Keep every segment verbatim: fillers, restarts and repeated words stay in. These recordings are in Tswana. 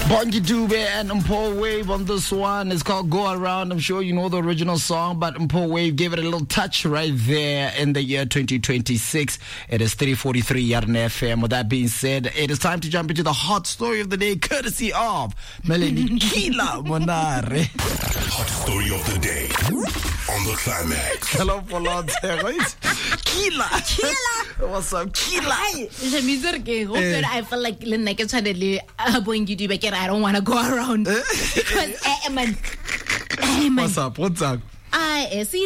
Bongi Dube and Mpho Wave on this one. It's called Go Around. I'm sure you know the original song, but Mpho Wave gave it a little touch right there in the year twenty twenty-six. It is three forty-three Yarn F M. With that being said, it is time to jump into the hot story of the day, courtesy of Melanie Kila Monare. Hot story of the day on the Climax. Hello, Kila. Kila. What's up, Kila? Hi. I feel like Bongi Dube, I don't want to go around because eh, man, eh, man. What's up? What's up? I see.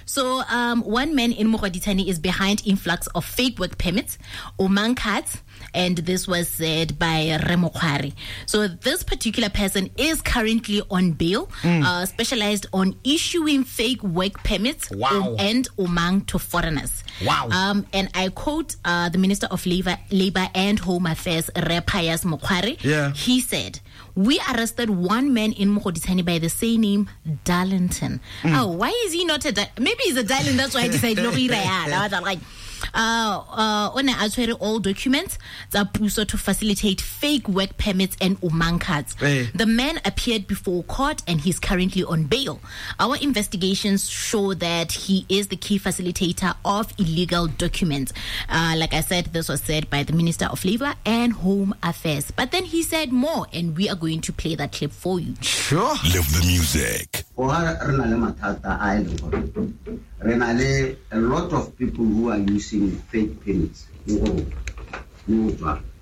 So, um, one man in Mogoditshane is behind influx of fake work permits, Omang cards, and this was said by Remo Kwari. So, this particular person is currently on bail, mm. uh, specialized on issuing fake work permits wow. and Omang to foreigners. Wow. Um, and I quote uh, the Minister of Labor, Labor and Home Affairs, Re Pius Mokgware. Yeah. He said, "We arrested one man in Mogoditshane by the same name, Darlington." Mm. Oh, why is he not a da- Maybe he's a Darling, that's why I decided like uh uh o ne a tshwere all documents tsa puso to facilitate fake work permits and Omang cards. Hey. The man appeared before court and he's currently on bail. Our investigations show that he is the key facilitator of illegal documents. Uh, like I said, this was said by the Minister of Labor and Home Affairs. But then he said more, and we are going to play that clip for you. Sure. Live the music. A lot of people who are using fake permits.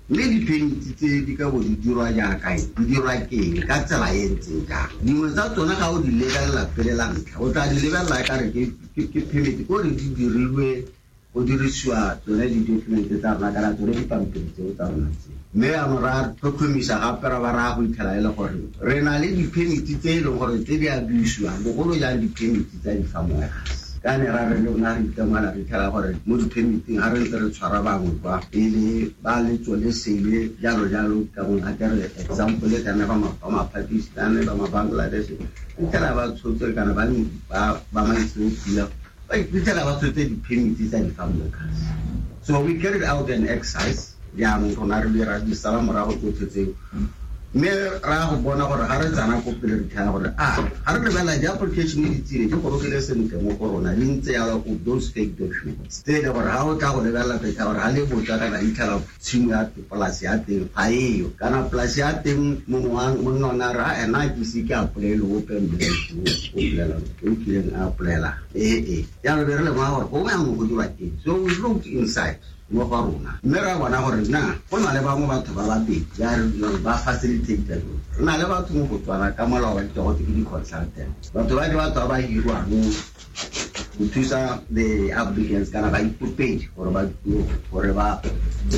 Mme di-permit tse di ka bo di dirwa jaaka eng, di dirwa ke eng, ka tsela e ntseng jang. Dingwe tsa tsona ga o di lebelela pele la ntlha, o tla di lebelela ka re ke permit, ko re di dirilwe go dirisiwa tsone di-document tsa rona kana tsone dipampiri tseo tsa rona tse. Mme jaanong ra tlhotlhomisa gape ra ba raya go itlhela e le gore re na le di-permit tse e leng gore tse di abusewang, bogolo jang di-permit tsa di-farm workers. Ka ne ra re le rona re itemogela re itlhela gore mo di-permiting ga re ntse re tshwara bangwe kwa pele ba letso le sele jalo jalo, ka gongwe a ke re example kana ba ma-Pakistan, ba ma-Bangladesh, itlhela ba tshotse kana ba ma-Ethiopia, ba itlhela ba tshotse di-permit tsa di-farm workers. So we carried out an exercise jaanong rona re dira di sala morago tsotlhe tseo, mme ra go bona gore ga re tsana ko pele re tlhela gore a ga re lebelela di-application di tsile di gorogile sentle mo go rona di ntse yalo go those fake documents tse e le gore ga o tla go lebelela pele gore ga le botsa kana itlhela tshimo ya polasi ya teng ga eyo, kana polasi ya teng mongwe wa monna one a re a ena ke ise ke apolaele ope o bolela o kileng a apolela ee ee. Jaanong be re lemoga gore gongwe yanong go dirwa teng. So we looked inside mo go rona mme ra bona gore na go na le bangwe batho ba babedi ba re ba facilitate. Re na le batho mo Botswana ka molao wa ditego ke di-consultant, batho ba ke batho ba ba hirwang go thusa the applicants kana ba ikopedi gore ba gore ba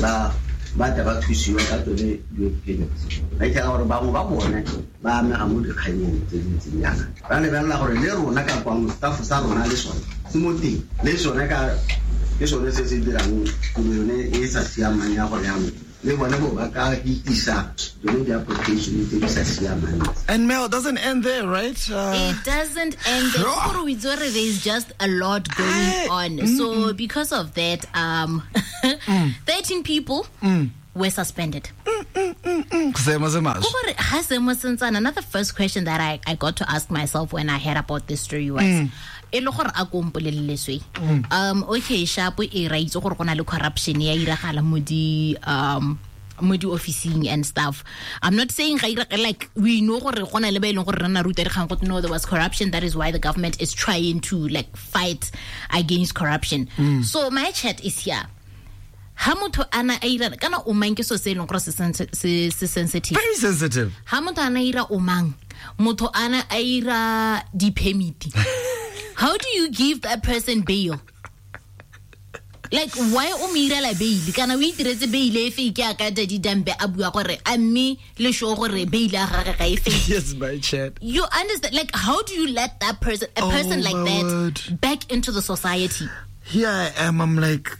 ba ba tle ba thusiwe ka tsone di-permits. Ba itlhela gore bangwe ba bone ba amega mo dikganyeng tse di ntseng jaana. Ra lebelela gore le rona ka kwano staff sa rona le sone se mo teng, le sone ka ke sone se se dirang tiro yone e sa siamang ya gore jaanong le bone bo ba ka hitisa tsone di-application tse di sa siamang. And Mel, it doesn't end there, right? Uh, it doesn't end there. Sure. There's just a lot going I, on. Mm, so because of that, um, mm. thirteen people mm. were suspended. Mm, mm, mm, mm. Another first question that I, I got to ask myself when I heard about this story was, mm. e le gore a ko mpolelele swe. Um okay, sharp e ra itse gore go na le corruption ya iragala mo di um mo di officing and stuff. I'm not saying like we know gore go na le ba e leng gore re na ruta re kgang go no there was corruption, that is why the government is trying to like fight against corruption. Mm. So my chat is here. Ha motho ana a ira kana o mang ke so se leng gore se se sensitive. Very sensitive. Ha motho ana ira o mang, motho ana a ira di permit. How do you give that person bail? Like, why o mo irela bail? Kana o itiretse bail e fake ya ka Daddy Dambe a bua gore a mme le sho gore bail ya gagwe ga e fake. Yes, my chat. You understand? Like, how do you let that person, a oh, person like that, word. back into the society? Here I am, I'm like,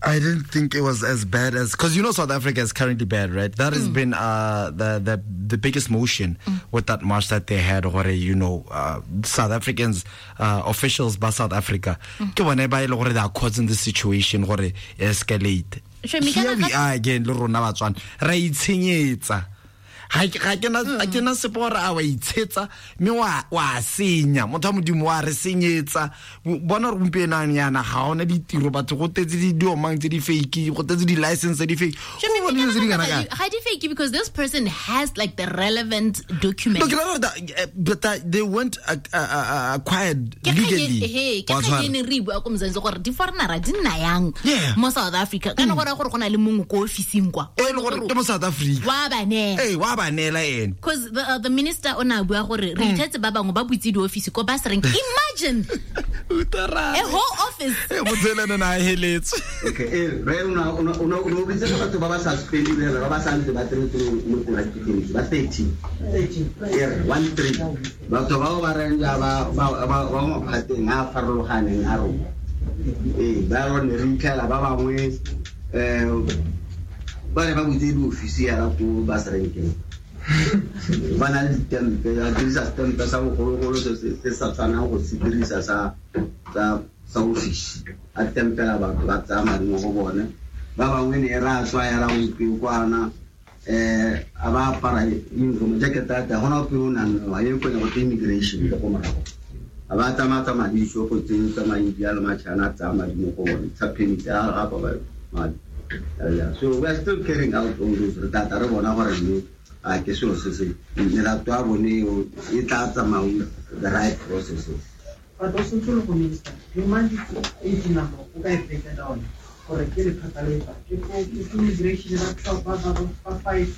I didn't think it was as bad as, because you know South Africa is currently bad, right? That has mm. been uh, the, the the biggest motion mm. with that march that they had. Or you know, uh, South Africans uh, officials by South Africa, mm. ke bone ba e le gore they are causing this situation gore escalate. Here we are again le rona Batswana ra itshenyetsa ga ke na ga ke na sepe gore a wa itshetsa mme wa wa senya motho wa modimo wa re senyetsa bona gore gompieno yana ga ona ditiro batho go tetse di diomang tse di fake go tetse di license tse di fake go bona dilo tse di kana ka ga di fake because this person has like the relevant document. Look, but they weren't uh, uh, acquired legally. Ke ga ne re bua ko Mzansi gore di foreigner di nna yang mo South Africa kana gore gore go na le mongwe ko officing kwa e le gore ke mo South Africa wa ba ne eh wa ba neela ene because the, uh, the minister o na bua gore re ithetse ba bangwe ba butse di office ko ba se reng imagine a whole office e motselana na heletse okay eh re una una una o bitse batho ba ba sa spending ba ba sa ntse ba tsentse mo go ba thirty thirty one three batho ba ba reng ya ba ba ba mo phateng a farologaneng a rona eh ba rone re itlhela ba bangwe eh ba re ba butse di office ya ko ba se renkeng ba na le ditempe ba dirisa setempe sa bogologolo se se sa tshwanang go se dirisa sa sa sa office a tempela batho ba tsaya madi mo go bone ba bangwe ne ra tswa ya ra ope kwana eh a ba apara uniform jacket ya teng gona ope o nang wa ye kone go te immigration le ko morago a ba tsamaya tsamaya dishopo tse tsamaya India le Machina a tsaya madi mo go bone tsa permit a gapa ba madi. So we are still carrying out all those re tata re bona gore mme a ke selo se se melato ya bone e tla tsamaya the right processes. But also to look minister, you mind eighty number o ka e break down gore ke lephata le fa ke ko immigration ba ba ba ba five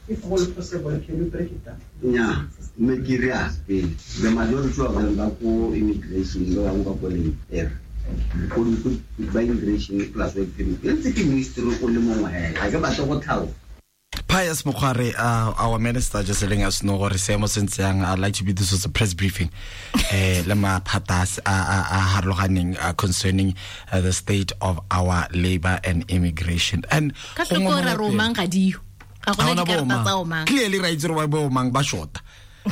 if all possible can you break it down? Yeah, me ke re a pele the majority of them ba ko immigration ba bangwe ba ko le air ko ba immigration plus work permit ntse ke ministry o le mongwe ga ke batle go tlhalosa. Pius Mokgware, uh, our minister, just letting us know gore seemo se ntse yang. I'd like to be this was a press briefing eh le maphata a a harologaneng concerning uh, the state of our labor and immigration. And ka tlhoko ra romang ga dio ga gona dikarata tsa omang clearly right gore ba omang ba shota.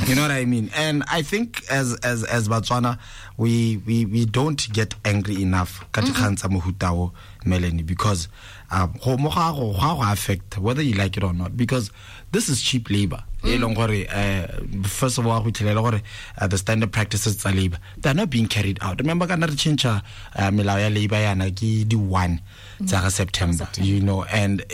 You know what I mean? And I think as as as Botswana, we we we don't get angry enough ka dikgang tsa mohuta o, Melanie, because um go mo ga go ga go affect whether you like it or not, because this is cheap labor. E leng gore first of all go itlhelela gore the standard practices tsa labor, they are not being carried out. Remember kana re change melao ya labor yana ke di one tsa ga September, you know, and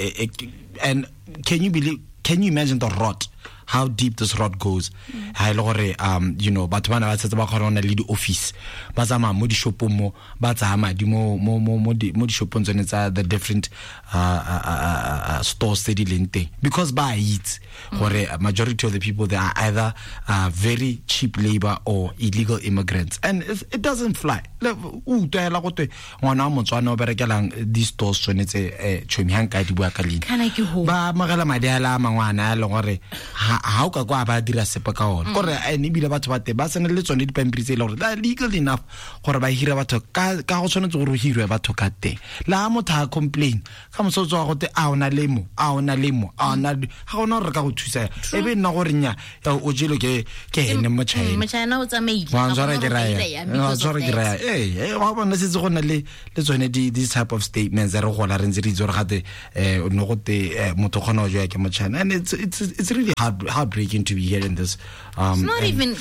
and can you believe, can you imagine the rot, how deep this rot goes? Ha ile gore um you know batho bana ba tsetse ba kgona le di office ba tsamaya mo di shopong mo ba tsaya madi mo mo mo mo di shopong tsone tsa the different uh, uh, uh, uh stores tse di leng teng, because ba itse gore majority of the people they are either uh, very cheap labor or illegal immigrants, and it, it doesn't fly. O utlwela go twe ngwana wa Motswana o berekelang di stores tsone tse chomi ha nka di bua ka leina ba amogela madi a la mangwana a leng gore ha o ka kwa ba dira sepe ka ona gore ene ebile batho ba te ba sene le tsone dipampiri tse e leng gore they are legal enough gore ba hira batho ka ka go tshwanetse gore o hirwe batho ka teng. Le ha motho a complain ka mosotso wa go te a ona le mo a ona le mo a ona ga gona gore re ka go thusa e be nna gore nya o jelo ke ke ene mo China mo China o tsamaile wa tswara ke raya wa tswara ke raya eh wa bona setse go na le le tsone di this type of statements re gola re ntse re itse gore gate eh no go te motho kgona go joya ke mo China, and it's it's it's really hard heartbreaking to be hearing this. Um, it's not even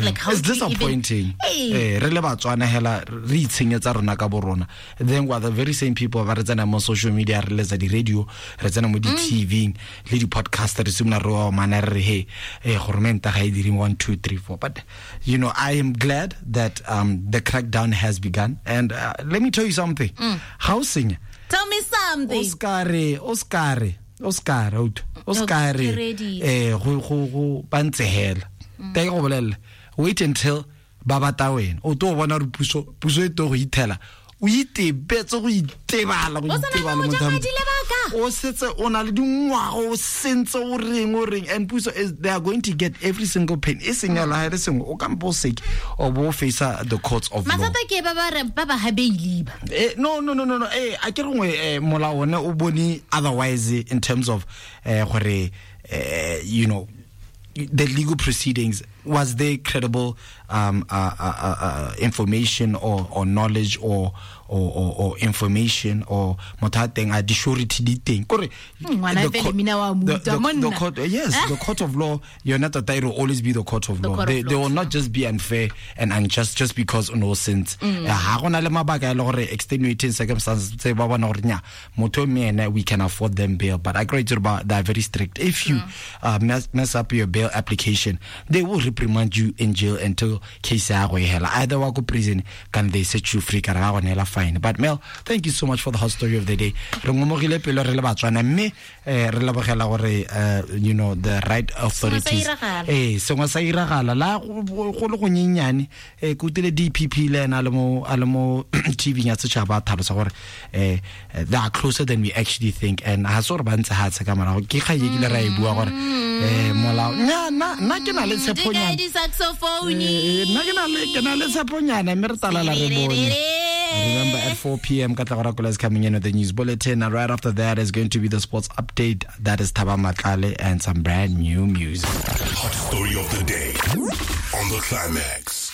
like how it's disappointing. Eh re le Batswana hela re itshenyetsa rona ka borona, then we are the very same people ba re tsena mo social media re letsa di radio re tsena mo di T V le di podcast re simolola re wa mana re he eh government ga e dire one two three four. But you know, I am glad that um the crackdown has begun, and uh, let me tell you something. How sing Tell me something. Oscar Oscar Oscar out Oscar eh go go go ba ntse hela te go bolella wait until ba bata wena o to bona re puso puso e to go ithela o itebetse go itebala go itebala motho o setse o na le dingwaga o sentse o reng o reng, and puso is they are going to get every single pain e seng ya la sengwe o kampo seke o bo face the courts of law. Mathata ke ba ba re ba ba habeile ba eh no no no no no eh a ke rengwe eh molao one o bone otherwise in terms of eh gore eh you know the legal proceedings Was there credible um, uh, uh, uh, information or, or knowledge or or, or, or information or motho a teng a di surety di teng kore the, the, the court, yes, the court of law, yona tota it will always be the court of the law. Court they, of law. They will not just be unfair and unjust just because no sense. Ha gona le mabaka le gore extenuating circumstances tse ba bona gore nya motho mme ene we can afford them bail, but I agree to about they are very strict. If you mm. uh, mess, mess up your bail application, they will reprimand you in jail until case ya go hela either wa go prison can they set you free ka ra go nela fine. But Mel, thank you so much for the hot story of the day. Re ngomogile pelo re le Batswana mme re lebogela gore you know the right authorities eh sengwe sa iragala la go le go nyenyane eh ke utile D P P le ena le mo a le mo T V ya setšhaba thalosa gore eh they are closer than we actually think, and ha so re ba ntse ha tse ka morago ke ga ye kile ra e bua gore eh molao nya na na ke na le tsheponyana nna ke na le ke na le tsheponyana mme re talala re bone. Remember, at four p.m., Katlego Rakola is coming in with the news bulletin, and right after that is going to be the sports update. That is Thaba Matlale and some brand new music. Hot story of the day on The Climax.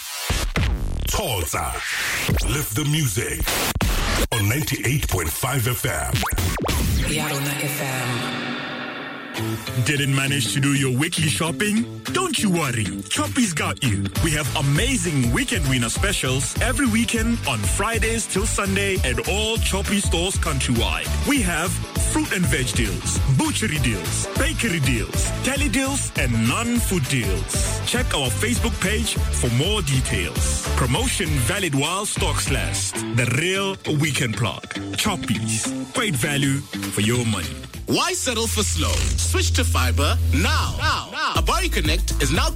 Tota, lift the music on ninety-eight point five F M. Yarona F M. Didn't manage to do your weekly shopping? Don't you worry. Choppies got you. We have amazing weekend winner specials every weekend on Fridays till Sunday at all Choppy stores countrywide. We have fruit and veg deals, butchery deals, bakery deals, tele deals, and non-food deals. Check our Facebook page for more details. Promotion valid while stocks last. The real weekend plug. Choppies. Great value for your money. Why settle for slow? Switch to fiber now. Now. Now. Abari Connect is now